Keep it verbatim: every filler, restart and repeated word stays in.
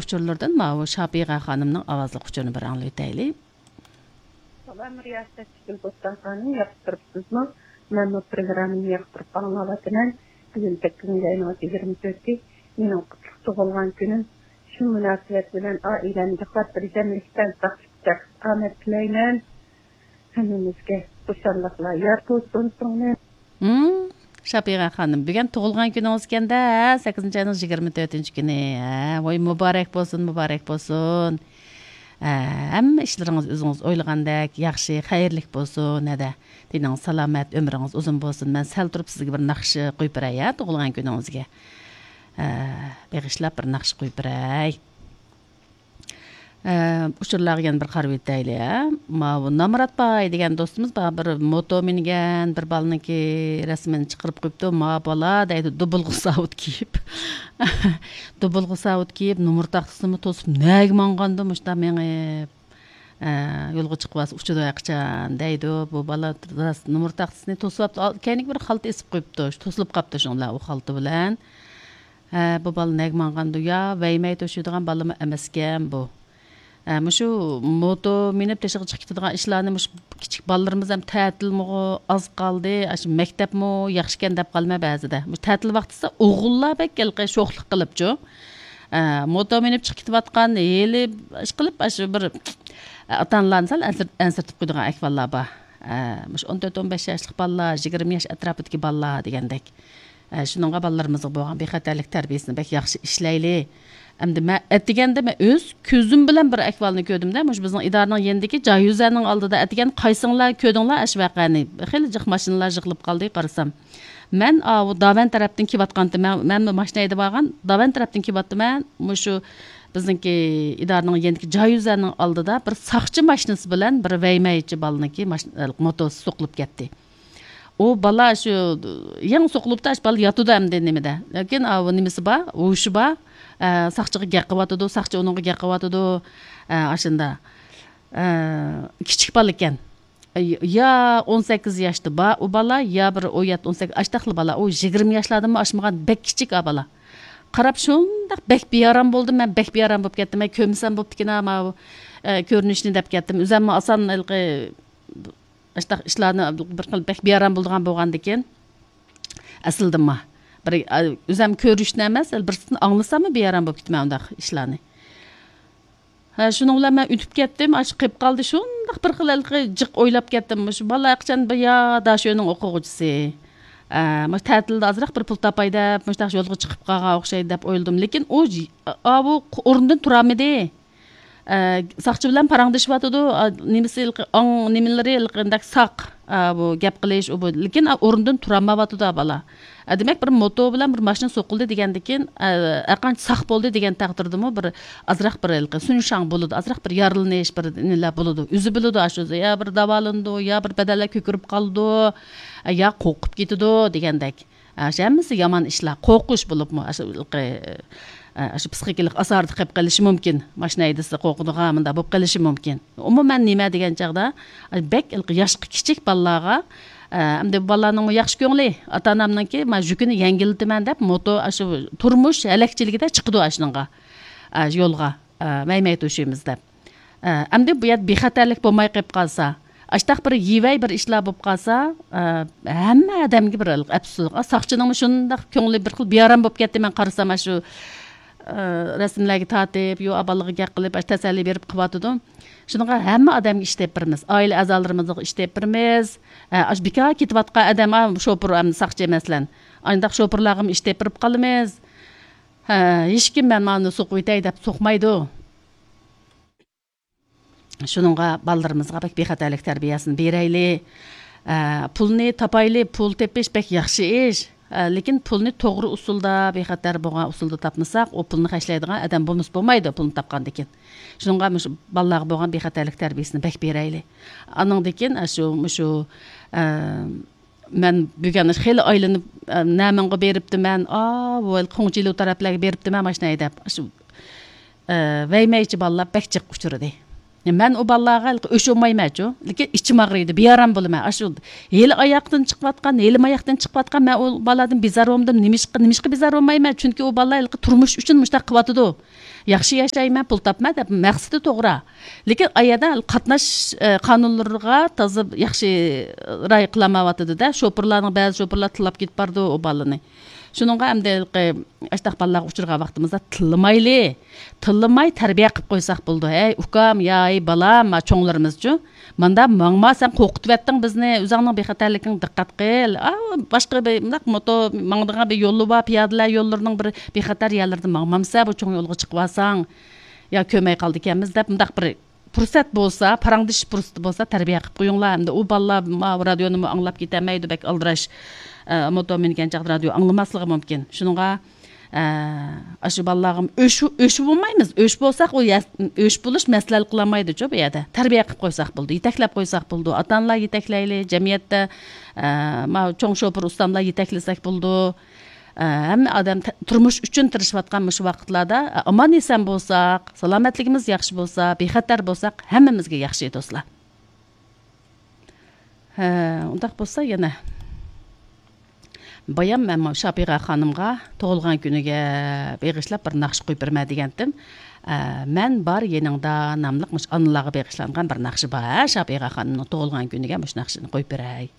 ئۇچۇرلىرىدىن ماۋۇ شاپىغە خانىمنىڭ ئاۋازلىق ئۇچۇرىنى بىر ئاڭلىۋېتەيلى. سالام رىياسەتچى گۈلبوستان خانىم، ياقتۇرۇپسىزمۇ؟ مەنمۇ پروگراممىنى ياقتۇرۇپ ئاڭلاۋاتىمەن. بۈگۈن سەككىزىنچى ئاينىڭ يىگىرمە تۆتى، مېنىڭ قۇتلۇق تۇغۇلغان كۈنۈم. شۇ مۇناسىۋەت بىلەن ئائىلەمگە خاتىرجەملىكتە، ساقلىقتا ئامەت تىلەيمەن. ھەممىمىزگە خۇشاللىقلار يار بولسۇن، سىڭلىم. ھىم، شاپىغە خانىم، بۈگۈن تۇغۇلغان كۈنىڭىز ئىكەن-دە، ھە، سەككىزىنچى ئاينىڭ يىگىرمە تۆتىنچى كۈنى. ھە، ۋاي، مۇبارەك بولسۇن، مۇبارەك بولسۇن. ھە، ھەممە ئىشلىرىڭىز ئۆزىڭىز ئويلىغاندەك ياخشى، خەيرلىك بولسۇن، ھەدە. تېنىڭىز سالامەت، ئۆمرىڭىز ئۇزۇن بولسۇن. مەن سەل تۇرۇپ سىزگە بىر ناخشا قويۇپ بېرەي، ھە، تۇغۇلغان كۈنىڭىزگە. ھە، بېغىشلاپ بىر ناخشا قويۇپ بېرەي. ئە، ئۇچۇرلارغا يەنە بىر قارىۋېتەيلى، ھە. ماۋۇ نامرات باي دېگەن دوستىمىز بار، بىر موتو مىنگەن بىر بالىنىڭكى رەسىمىنى چىقىرىپ قويۇپتۇ. ما بالا دەيدۇ، دۇبۇلغا ساۋۇت كىيىپ. دۇبۇلغا ساۋۇت كىيىپ، نومۇر تاختىسىنىمۇ توسۇپ، نەگە ماڭغاندۇ مۇشۇنداق مېڭىپ؟ ئە، يولغا چىقىۋالسا ئۇچىدۇ ھەرقاچان دەيدۇ. بۇ بالا راست نومۇر تاختىسىنى توسۇۋاپتۇ. ئال-، كەينىگە بىر خالتا ئېسىپ قويۇپتۇ. شۇ توسۇلۇپ قاپتۇ شۇڭلار ئۇ خالتا بىلەن. ھە، بۇ بالا نەگە ماڭغاندۇ يا؟ ۋەيمەي توشۇيدىغان بالىمۇ ئەمەسكەن بۇ. ھە، مۇشۇ موتو مىنىپ تېشىغا چىقىپ كېتىدىغان ئىشلارنى مۇشۇ كىچىك بالىلىرىمىز ھەم تەتىلمۇغۇ ئاز قالدى، ئاشۇ مەكتەپمۇ ياخشىكەن دەپ قالىمەن بەزىدە. مۇشۇ تەتىل ۋاقتىسى ئوغۇللار بەك ھېلىقى شوخلۇق قىلىپچۇ. ھە، موتو مىنىپ چىقىپ كېتىۋاتقان، ھېلى ئىشقىلىپ ئاشۇ بىر ئاتا-ئانىلارنى سەل ئەنسىر-، ئەنسىرىتىپ قويىدىغان ئەھۋاللار بار. ھە، مۇشۇ ئون تۆت، ئون بەش ياشلىق بالىلار، يىگىرمە ياش ئەتراپىدىكى بالىلار دېگەندەك. ئە، شۇنىڭغا بالىلىرىمىزغا بولغان بىخەتەرلىك تەربىيەسىنى بەك ياخشى ئىشلەيلى. ئەمدى مەن ئەتىگەندە مەن ئۆز كۆزۈم بىلەن بىر ئەھۋالنى كۆردۈم-دە، مۇشۇ بىزنىڭ ئىدارىنىڭ يېنىدىكى جايۈزەنىڭ ئالدىدا ئەتىگەن قايسىڭلار كۆردۈڭلار ئاشۇ ۋەقەنى؟ خېلى جىق ماشىنىلار يىغىلىپ قالدى، قارىسام. مەن ئاۋۇ داۋەن تەرەپتىن كېلىۋاتقانتىم، مەن، مەنمۇ ماشىنا ھەيدەپ بارغان، داۋەن تەرەپتىن كېلىۋاتىمەن، مۇشۇ بىزنىڭكى ئىدارىنىڭ يېنىدىكى جايۈزەنىڭ ئالدىدا بىر ساقچى ماشىنىسى بىلەن بىر ۋەيمەيچى بالىنىڭكى ماشىنا، موتوسى سوقۇلۇپ كەتتى. ئۇ بالا شۇ يېڭى سوقۇلۇپتۇ، ئاشۇ بالا ياتىدۇ ئەمدى نېمىدە. لېكىن ئاۋۇ نېمىسى بار، ھوشى بار. ئە، ساقچىغا گەپ قىلىۋاتىدۇ، ساقچى ئۇنىڭغا گەپ قىلىۋاتىدۇ. ئە، ئاشۇندا. ئە، كىچىك بالا ئىكەن. ئە، يا ئون سەككىز ياشتا بار ئۇ بالا، يا بىر ئون يەتتە، ئون سەككىز، ئاشتاقلا بالا. ئۇ يىگىرمە ياشلاردىنمۇ ئاشمىغان بەك كىچىك ئا بالا. قاراپ شۇنداق بەك بىئارام بولدۇم، مەن بەك بىئارام بولۇپ كەتتىم. مەن كۆرمىسەم بوپتىكىنا ماۋۇ، ئە، كۆرۈنۈشنى دەپ كەتتىم. ئۆزەممۇ ئاسان ھېلىقى ئاشۇنداق ئىشلارنى بىر خىل بەك بىئارام بولىدىغان بولغاندىكىن، ئەسلىدىنمۇ بىر، ئا، ئۆزەم كۆرۈشنى ئەمەس، بىرسىدىن ئاڭلىساممۇ بىئارام بولۇپ كېتىمەن ئۇنداق ئىشلارنى. ھە، شۇنىڭ بىلەن مەن ئۆتۈپ كەتتىم. ئاشۇ قېلىپ قالدى، شۇنداق بىر خىل ھېلىقى جىق ئويلاپ كەتتىم. مۇشۇ بالا قاچان بىر يا داشۆنىڭ ئوقۇغۇچىسى. ئە، مۇشۇ تەتىلدە ئازراق بىر پۇل تاپاي دەپ، مۇشۇنداق يولغا چىقىپ قالغان ئوخشايدۇ دەپ ئويلىدىم. لېكىن ئۇ ج-، ئاۋۇ ئورنىدىن تۇرالمىدى. ئە، ساقچى بىلەن پاراڭلىشىۋاتىدۇ. ئا، نېمىسى ھېلىقى، ئاڭ نېمىلىرى ھېلىقى ئانداق ساق. ئا، بۇ گەپ قىلىش، ئۇ بۇ. لېكىن، ئا، ئورنىدىن تۇرالمايۋاتىدۇ، ئا، بالا. ئە، دېمەك، بىر موتو بىلەن بىر ماشىنا سوقۇلدى دېگەندىكىن، ئە، ھەرقانچە ساق بولدى دېگەن تەقدىردىمۇ بىر ئازراق بىر ھېلىقى سۈنشاڭ بولىدۇ، ئازراق بىر يارىلىنىش، بىر نېمىلەر بولىدۇ. ئۆزى بىلىدۇ، ئاشۇ يا بىر داۋالىنىدۇ، يا بىر بەدەنلەر كۆكىرىپ قالىدۇ، ئە، يا قورقۇپ كېتىدۇ دېگەندەك. ئاشۇ ھەممىسى يامان ئىشلار، قورقۇش بولۇپمۇ، ئاشۇ، ئە، ئاشۇ پسىخىكىلىق ئازاردا قېلىپ قېلىشى مۇمكىن. ماشىنا ھەيدىسە قورقىدىغان، مۇنداق بولۇپ قېلىشى مۇمكىن. ئومۇمەن نېمە دېگەن چاغدا، بەك ياشقا كىچىك بالىلارغا، ئە، ئەمدى بۇ بالىلارنىڭمۇ ياخشى كۆڭلى، ئاتا ئانامنىڭكى، ما، يۈكىنى يەڭگىللىتىمەن دەپ، موتو، ئاشۇ تۇرمۇش ھەلەكچىلىكىدە چىقىدۇ ئاشۇنىڭغا، ئە، يولغا. ئە، مەيمەي توشۇيمىز دەپ. ئە، ئەمدى بۇ يەردە بىخەتەرلىك بولماي قېلىپ قالسا، ئاشتاق بىر يىۋەي بىر ئىشلار بولۇپ قالسا، ئە، ھەممە ئادەمگە بىر ئەپسۇسلۇق. ئا، ساقچىنىڭمۇ شۇنداق كۆڭلى بىر خىل بىئارام بولۇپ كەتتى، مەن قارىسام، ئاشۇ، ئە، رەسىملەرگە تارتىپ، يو، بالىغا گەپ قىلىپ، ئاشۇ تەسەللى بېرىپ قىلىۋاتىدۇ. شۇنىڭغا ھەممە ئادەمگە ئىش تېپىپ بېرىمىز. ئائىلە ئەزالىرىمىزغا ئىش تېپىپ بېرىمىز. ئە، ئاشۇ بىكار كېتىۋاتقان ئادەم، ئا، شوپۇر، ئەمدى ساقچى، مەسىلەن، ئانداق شوپۇرلارغىمۇ ئىش تېپىپ بېرىپ قالىمىز. ھە، ھېچكىم مەن مانا سوقۇۋېتەي دەپ سوقمايدۇ. شۇنىڭغا بالىلىرىمىزغا بەك بىخەتەرلىك تەربىيەسىنى بېرەيلى. ئە، پۇلنى تاپايلى، پۇل تېپىش بەك ياخشى ئىش. ئە، لېكىن پۇلنى توغرا ئۇسۇلدا، بىخەتەر بولغان ئۇسۇلدا تاپمىساق، ئۇ پۇلنى خەجلەيدىغان ئادەم بولمىسا بولمايدۇ، پۇلنى تاپقاندىن كېيىن. شۇنىڭغا مۇشۇ بالىلارغا بولغان بىخەتەرلىك تەربىيەسىنى بەك بېرەيلى. ئانىڭدىن كېيىن، ئە، شۇ، مۇشۇ، ئە، مەن بۈگۈن خېلى ئايلىنىپ، ئە، نەمىڭغا بېرىپتىمەن، ئاۋۇ قوڭچىلۇ تەرەپلەرگە بېرىپتىمەن ماشىنا ھەيدەپ. شۇ، ئە، ۋەيمەيچى بالىلار بەك جىق ئۇچرىدى. مەن ئۇ بالىلارغا ھېلىقى ئۆچ بولمايمەنچۇ، لېكىن ئىچىم ئاغرىيدۇ، بىئارام بولىمەن. ئاشۇ ھېلى ئاياقتىن چىقىۋاتقان، ھېلى ماياقتىن چىقىۋاتقان، مەن ئۇ بالىلاردىن بىزار بولمىدىم. نېمىشقا، نېمىشقا بىزار بولمايمەن؟ چۈنكى ئۇ بالىلار ھېلىقى تۇرمۇش ئۈچۈن مۇشۇنداق قىلىۋاتىدۇ. ياخشى ياشايمەن، پۇل تاپىمەن دەپ مەقسىتى توغرا. لېكىن ئايەدە قاتناش، ئە، قانۇنلىرىغا تازا ياخشى رىئايە قىلالمايۋاتىدۇ-دە. شوپۇرلارنىڭ، بەزى شوپۇرلار تىللاپ كېتىپ بارىدۇ ئۇ بالىنى. شۇنىڭغا ئەمدى ھېلىقى ئاشتاق بالىلارغا ئۇچرىغان ۋاقتىمىزدا تىللىمايلى. تىللىماي تەربىيە قىلىپ قويساق بولىدۇ. ھەي ئۇكام، يا ھەي بالام، ما چوڭلىرىمىزچۇ؟ ماندا ماڭما، سەن قورقۇتۇۋەتتىڭ بىزنى، ئۆزۈڭنىڭ بىخەتەرلىكىڭ دىققەت قىل. ئا، باشقا بىر مۇنداق موتور ماڭىدىغان بىر يولى بار، پىيادىلەر يوللىرىنىڭ بىر بىخەتەر يەرلىرىدە ماڭمامسە، بۇ چوڭ يولغا چىقىۋالساڭ، يا كۆرمەي قالىدىكەنمىز دەپ مۇنداق بىر پۇرسەت بولسا، پاراڭلىشىش پۇرسىتى بولسا تەربىيە قىلىپ قويۇڭلار. ئەمدى ئۇ بالىلار ما رادىيونىمۇ ئاڭلاپ كېتەلمەيدۇ، بەك ئالدىراش. ئە، موتور مىنگەن چاغدا رادىيو ئاڭلىماسلىقى مۇمكىن. شۇنىڭغا، ئە، ئاشۇ بالىلارغىمۇ ئۆچ، ئۆچ بولمايمىز. ئۆچ بولساق، ئۇ يە-، ئۆچ بولۇش مەسىلە ھەل قىلالمايدۇچۇ بۇ يەردە. تەربىيە قىلىپ قويساق بولىدۇ، يېتەكلەپ قويساق بولىدۇ. ئاتا-ئانىلار يېتەكلەيلى، جەمئىيەتتە، ئە، ما چوڭ شوپۇر ئۇستاملار يېتەكلىسەك بولىدۇ. ئە، ھەممە ئادەم تە-، تۇرمۇش ئۈچۈن تىرىشىۋاتقان مۇشۇ ۋاقىتلاردا، ئە، ئامان-ئېسەن بولساق، سالامەتلىكىمىز ياخشى بولسا، بىخەتەر بولساق، ھەممىمىزگە ياخشى، دوستلار. ھە، ئۇنداق بولسا يەنە بايام مەن شاپىغا خانىمغا تۇغۇلغان كۈنىگە بېغىشلاپ بىر ناخشا قويۇپ بېرىمەن دېگەنتىم. ئە، مەن بار يېنىڭدا ناملىق مۇشۇ ئانىلارغا بېغىشلانغان بىر ناخشا بار، ھە، شاپىغا خانىمنىڭ تۇغۇلغان كۈنىگە مۇشۇ ناخشىنى قويۇپ بېرەي.